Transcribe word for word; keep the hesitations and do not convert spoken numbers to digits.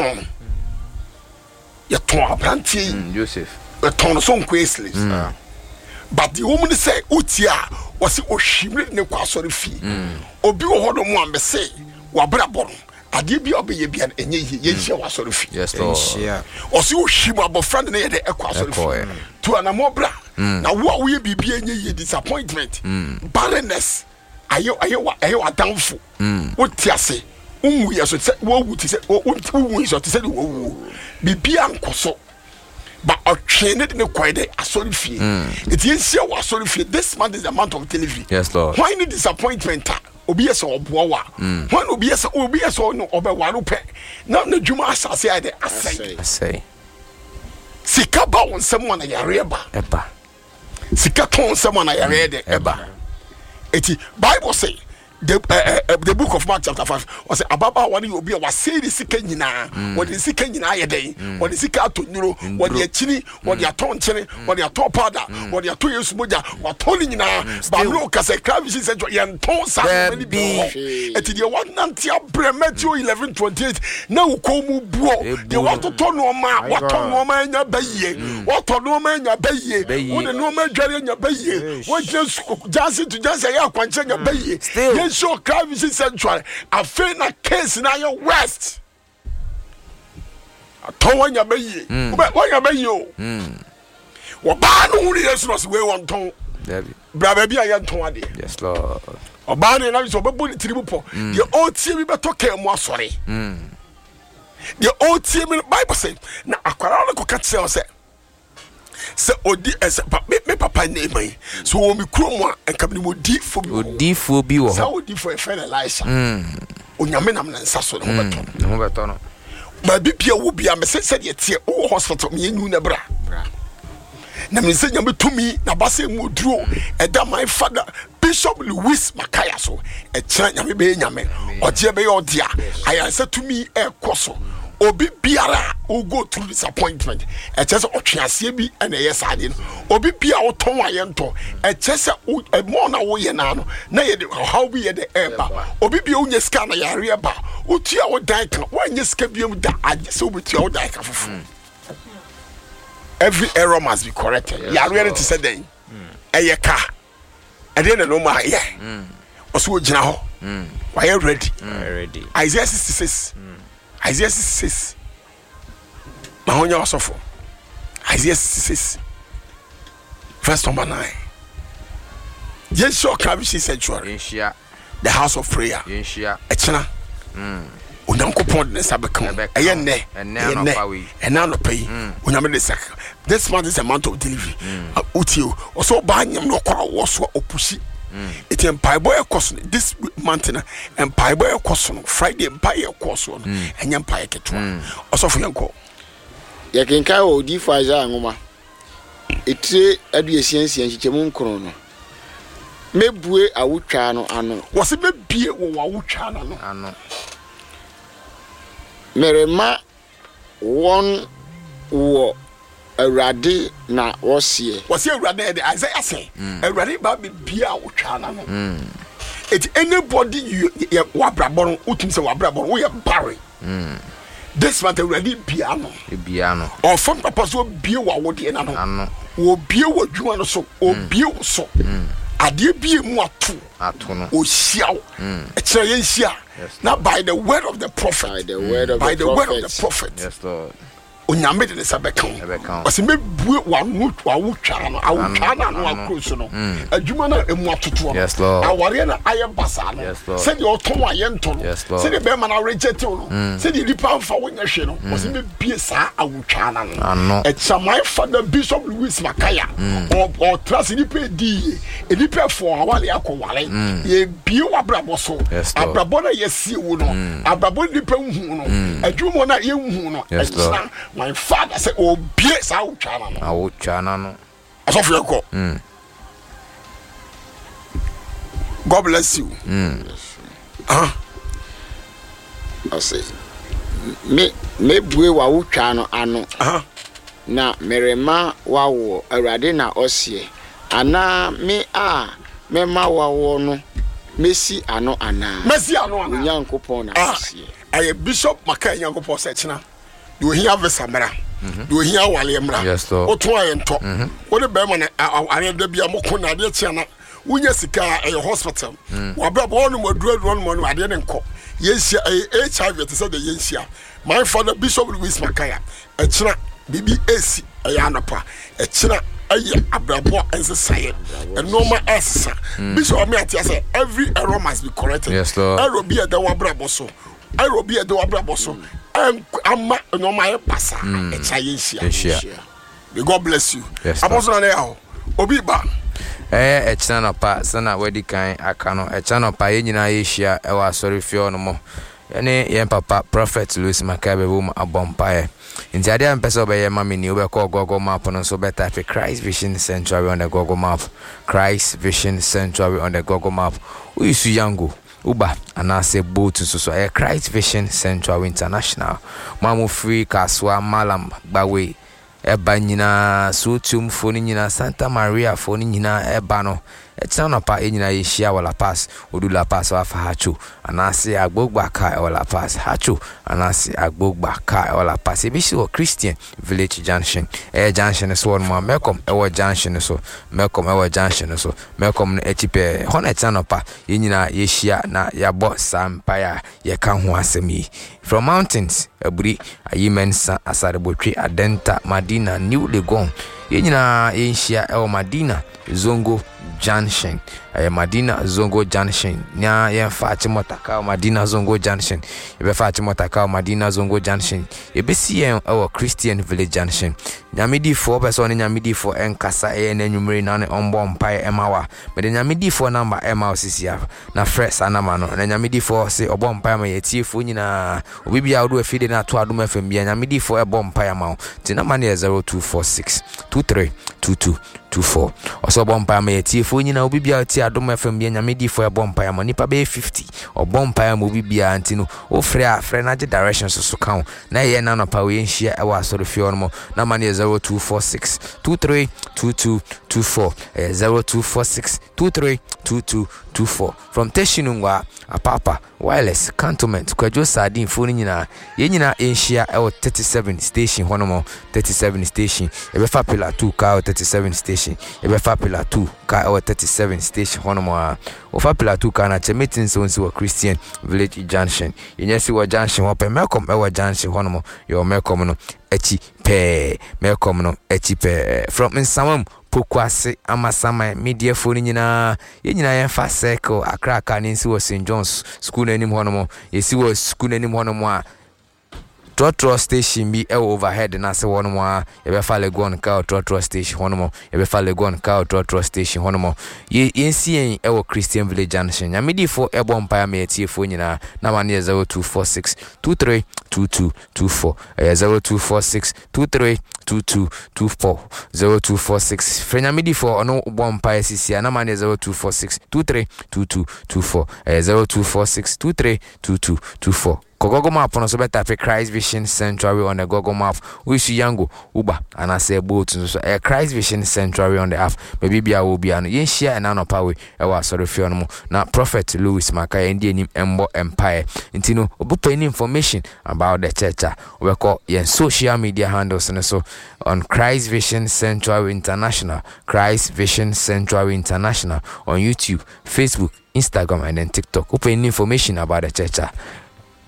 Yɛtɔn no, yɛtɔn aberanteɛ yi. Mm, Joseph. Yɛtɔn no so nkɔyɛ slaves. But deɛ wɔn ni sɛ wotie a, wɔsi ohwim ne ne kɔ asɔre fie. Obi wɔ hɔ nom a mɛsɛ wabrabɔ no, adeɛ bi a ɔbɛyɛ bia no ɛnyɛ yie. Yɛnhyia wɔ asɔre fie. Yes, Lord. Nhyia. Ɔsi ohwim abɔfra de ne yɛ dɛ ɛkɔ asɔre Ɛkɔɛ. fie. Tu anamɔ bra na wo a woyɛ biribi ɛnyɛ yie, disappointment, barrenness ayɛ ayɛ wa ɛyɛ w'adamfo. Wote ase, wonwu yɛ so sɛ wowu te sɛ wo- wo- wowu yi so te sɛ de wɔwuo, biribi ankɔ so ba. Ɔtwe ne de ne kɔɛ dɛ asɔre fie. Eti yɛnhyia wɔ asɔre fie. This month is the month of delivery. Yes, Lord. Hwan ne disappointment a obi yɛ sɛ ɔboa wa? Hwan na obi yɛ sɛ obi yɛ sɛ ɔno ɔbɛware pɛ na n'adwuma asase ayɛ dɛ asɛe? Asɛe. Asɛe. Sika ba wo nsɛm a, na yareɛ ba. Ɛba. Sika tɔn nsɛm a, na yareɛ dɛ ɛba. Eti Bible say the uh, uh, the Book of Mark chapter five, ɔsɛ ababaawa no yɛ obi a wasɛe ne sika nyinaa. Wɔde ne sika nyinaa yɛ dɛn? Wɔde sika atɔ nnuro, wɔde akyini, wɔde atɔ nkyene, wɔde atɔ powder, wɔde atɔ Yesu mogya, wɔatɔ ne nyinaa. Baamene okasa kra vision sɛ yɛntɔn saa nneɛma no bi wɔ hɔ. Eti deɛ wanante abrɛ, Matthew eleven twenty eight, na wo kɔn mu buo. Ebuo. Deɛ watotɔ nneɛma a, My watɔ God. nneɛma anya bɛyie, watɔ nneɛma anya bɛyie, Bɛyie. wode nneɛma adware anya bɛyie, wogyina su- junction to junction ɛyɛ akwankyerɛ anya bɛyie. Still. Yɛnhyɛ ɔkra Vision Sanctuary. Afei na case na ayɛ worst. Atɔn wanya bɛyie. Wobɛ- wanya bɛyie o. Wɔbaa no hunu Yesu na ɔsɛ wei wɔntɔn. Dabi. Bra baabi a yɛntɔn adeɛ. Yes, Lord. Ɔbaa no yɛnam sɛ ɔbɛbɔ ne tiri mu pɔ. Deɛ ɔretie mi bɛtɔ kaa mu asɔre. Deɛ ɔretie mi no, Bible sɛ na akwaraa no kɔka kyerɛ wo sɛ sɛ ɔdi ɛsɛ pa me me papa ne ma yi so wɔ mi kurom a, nka mi ni mo diifo bi wɔ hɔ. Odiifoɔ bi wɔ Saa hɔ. odiifo yɛfrɛ no Elisha. Onyame nam ne nsa so ne ho bɛtɔ no. Ne ho bɛtɔ no. Baabi bia wo bia mɛ sɛ sɛdeɛ teɛ, wowɔ hospital, meyɛ nwu na bra. Bra. Na me sɛ Nyame tumi na ba sɛ mu oduro ɛda my father Bishop Louis Makaya so. Ɛkyerɛ Nyame bɛyɛ Nyame ɔgyeɛ bɛyɛ ɔdea. Ayaresa tumi ɛkɔ so. Obi biara a wo go through disappointment, ɛkyerɛ sɛ ɔtwe aseɛ bi ɛna ɛyɛ saa adeɛ no. Obi bia wotɔn a yɛntɔ, ɛkyerɛ sɛ wo- ɛmɔ na woyɛ naa no na yɛde ɔhaw bi yɛ de ɛɛba. Obi bia wonya sika na yareɛ ba, wotua wo dan ka, woanyɛ sika biom da, agye sɛ wobɛtua wo dan ka foforɔ. Every error must be corrected. Yes, Yareɛ no Lord. te sɛ dɛn? Ɛyɛ ka ɛdeɛ na nɔɔma ayɛ. Ɔsɛ ogyina hɔ, wayɛ ready. Ready. Isaiah sixty-six, Isaiah sixty-six ma ho nyɛ ɔsɔfo. Isaiah sixty-six verse number nine. Yɛnhyia ɔka Vision Sanctuary, Yɛnhyia. the house of prayer. Yɛnhyia. Ɛkyena Onyankopɔn de ne nsa bɛka wo. Ɛbɛka Ɛyɛ wo. nnɛ. Ɛnnɛ Ɛyɛ nnɛ. anɔpa wei. Ɛnnɛ anɔpa yi Onyame de ne nsa ka. This month is a month of delivery. Ah, wotie o, ɔsɛ ɔbaa nyam na ɔkɔ awoɔ so a ɔpusi. Ɛti mpaebɔ ɛkɔ so no this month no, mpaebɔ ɛkɔ so no, Friday mpaeɛ ɛkɔ so no, ɛnyɛ mpaeɛ ketewa. Ɔsɔfo, yɛnkɔ. Yɛkenkan wɔ odiifo Isaia nwoma etire aduasia nsia nkyekyɛmu nkron no: "Mɛbue awotwaa no ano." Wɔsɛ mɛbie wɔ wawotwa no no. Ano. "Merema wɔn wɔ, Awurade na wɔseɛ." Wɔsɛ Awurade ɛde Isaiah sɛ Awurade ba bɛbie awotwa no no. Eti anybody you yɛ wabrabɔ no, wotumi sɛ wabrabɔ no woyɛ barren, this month Awurade bia no. Ebia no. Ɔfam papa so obie wɔ awodeɛ no ano. Ano. Wɔbie wɔ adwuma no so, obie wo so, adeɛ bie mu ato. Ato no. Ɔhyia wo ɛkyerɛ yɛnhyia Yes. na by the word of the prophet, By the word of by the the word of the prophet. prophet, Yes, Lord. Onyame de ne nsa bɛka wo. Ɛbɛka wo. Ɔsɛ mɛbue w'ano, w'awotwaa no, awotwaa no ano Ano. akoro so no, adwuma no a ɛmu atotoɔ no, Yes, Lord. awareɛ no ayɛ basaa no, Yes, Lord. sɛdeɛ ɔtɔn a yɛntɔ no, Yes, Lord. sɛdeɛ bɛrima no areject wo no, sɛdeɛ nipa mfa wo nyɛ hwee no, ɔsɛ mɛbue saa awotwaa no ano. Ano. Ɛkyɛ my father Bishop Louis Makaya, ɔ- ɔtra se nipa edi yie, nipa ɛfɔ awale akɔ wale, yɛbie w'abrabɔ so. Yes, Lord. Abrabɔ no a yɛsie wo no, abrabɔ no nipa nhu no, adwuma no a yɛnhu no, Yes, Lord. ɛkyena my father sɛ ɔbie saa awotwaa no ano. Awotwaa no ano. Ɔsɔfo, yɛkɔ. God bless you. Ah. Ɔse me mɛbue w'awotwaa no ano aha na merema woawoɔ, Awurade na ɔseɛ. Anaa me a mɛma woawoɔ no mɛsi ano anaa? Mɛsi ano anaa? Onyankopɔn na Ah, ɔseɛ. ɛyɛ Bishop Maka. Nyankopɔn sɛ kyena Deɛ ohia visa mmra, deɛ ohia awaleɛ mmra. Yes, Lord. Woto ayɛ ntɔ wode bɛrima no awareɛ da bia moko na adeɛ kyea na wonya sika a ɛyɛ hospital wabrabɔ ɔnom aduru aduru ɔnom ɔnom adeɛ ne nkɔ. Yɛnhyia ɛyɛ H I V te sɛ deɛ yɛnhyia my father Bishop Louis Makaya ɛkyena. Biribi ɛsi ɛyɛ anɔpa ɛkyena, ɛyɛ abrabɔ a ɛnsesaeɛ, ɛnɔɔma ɛsesa. Bishop ame ate sɛ every error must be corrected. Yes, Lord. Error bi a ɛda w'abrabɔ so, error bi a ɛda w'abrabɔ so ɛnk ama nneɛma ayɛ basaa, ɛkyɛ yɛnhyia. Yɛnhyia. May God bless you. Yes, Lord. Apostle Nana Yaw, obi ba. Ɛyɛ ɛkyena nɔpa sɛna wadi kan aka no. Ɛkyena nɔpa yɛn nyinaa yɛhyia ɛwɔ asɔre fie hɔ nom, yɛne yɛn papa Prophet Louis Makai bɛbɔ mu abɔ mpaeɛ. Nti adeɛ a mpɛ sɛ wobɛyɛ ma me ni, wobɛkɔ Google Map no nso, wobɛtype Christ Vision Sanctuary on the Google Map, Christ Vision Sanctuary on the Google Map. Woyi so Yango, Uber anaasɛ Bolt nso so, ɛyɛ Christ Vision Sanctuary International. Mo a mofiri Kasoa, Malam, Gbawe ɛba nyinaa, Sootuomfoɔ no nyinaa, Santa Mariafoɔ no nyinaa ɛba no, ɛkyena nɔpa yɛn nyinaa yɛhyia wɔ Lapaz. Odu Lapaz, wafa Haatso anaasɛ Agbogba car ɛwɔ Lapaz. Haatso anaasɛ Agbogba car ɛwɔ Lapaz. Yɛbɛsi wɔ Christian Village Junction. Ɛyɛ junction no so hɔ nom a Melcom ɛwɔ junction no so, Melcom ɛwɔ junction no so, Melcom no akyi pɛɛ hɔ na ɛkyena nɔpa yɛn nyinaa yɛhyia na yɛabɔ saa mpaeɛ a yɛka ho asɛm yi. From Mountains, Aburi, Ayimensa, Asarebotwe, Adenta, Madina, New Legon, yɛn nyinaa yɛnhyia ɛwɔ Madina Zongo Junction. Ɛyɛ Madina Zongo Junction na yɛmfa Achimota kaa wɔ Madina Zongo Junction. Yɛbɛfa Achimota kaa wɔ Madina Zongo Junction. Yɛbɛsi yɛn ɛwɔ Christian Village Junction. Nyamedifoɔ pɛ sɛ ɔne nyamedifoɔ ɛnkasa ɛyɛ n'anwummere na ne ɔmbɔ mpaeɛ ɛma wa, mede nyamedifoɔ number ɛma wo sisi a na frɛ saa number no na nyamedifoɔ se ɔbɔ mpaeɛ ma yɛtiefoɔ nyinaa. Obi bia wode afidie no ato Adom F M bia, nyamedifoɔ ɛbɔ mpaeɛ ama wo. Nti number no yɛ zero two four six two three two two two four. Ɔsɛ ɔbɔ mpaeɛ ma yɛtiefoɔ nyinaa. Obi bia ɔtie Adom F M bia, nyamedifoɔ ɛbɔ mpaeɛ ama nipa bɛyɛ fifty. Ɔbɔ mpaeɛ ma obi biara. Nti no wofrɛ a, frɛ no agye direction so so ka ho na ɛyɛ na anɔpa wei yɛnhyia ɛwɔ asɔre fie hɔ no mu. Number no yɛ zero two four six two three two two two four. Ɛyɛ zero two four six two three two two two four. From Teshie Nungua, Apapa, Wireless, Cantonment, Kwadwo Sardine foɔ no nyinaa, yɛn nyinaa yɛnhyia ɛwɔ thirty-seven Station hɔ nom. thirty-seven Station, yɛbɛfa Pillar two car ɛwɔ thirty-seven Station. Yɛbɛfa Pillar two car ɛwɔ thirty-seven Station hɔ nom a wɔfa Pillar two car na kyɛ meeting sɛ wɔnsi wɔ Christian Village Junction. Yɛnyɛ si wɔ junction hɔ pɛ, Melcom ɛwɔ junction hɔ nom. Yɛwɔ Melcom no akyi pɛɛ, Melcom no akyi pɛɛ. From Nsawam, Pokuase, Amasaman, mediafoɔ no nyinaa, yɛn nyinaa yɛmfa Circle Accra car ne nsi wɔ Saint John's School no anim hɔ nom. Yɛsi wɔ school no anim hɔ nom a, trɔtrɔ station bi ɛwɔ overhead no ase hɔ nom a, yɛbɛfa Legon car trɔtrɔ station hɔ nom. Yɛbɛfa Legon car trɔtrɔ station hɔ nom. Yɛnsi yɛn ɛwɔ Christian Village Junction. Nyamedifoɔ ɛbɔ mpaeɛ ama yɛtiefoɔ nyinaa. Nama no yɛ zero two four six two three two two two four. Ɛyɛ zero two four six two three two two two four. zero two four six, frɛ nyamedifoɔ, ɔno bɔ mpaeɛ sisi a. Nama no yɛ zero two four six two three two two two four. Ɛyɛ zero two four six two three two two two four. Kɔ Google Map no so, bɛtype Christ Vision Sanctuary on the Google Map. Woyisu Yango, Uber anaasɛ Bolt nso so, ɛyɛ Christ Vision Sanctuary on the app. Baabi bia wɔ bia no, yɛnhyia ɛna anɔpa wei ɛwɔ asɔre fie no mu na Prophet Louis Maka yɛn di anim ɛmbɔ mpaeɛ. Nti no wobɛpɛ any information about the church a, wobɛkɔ yɛn social media handles no so on Christ Vision Sanctuary International, Christ Vision Sanctuary International on YouTube, Facebook, Instagram and then TikTok. Wopɛ any information about the church a,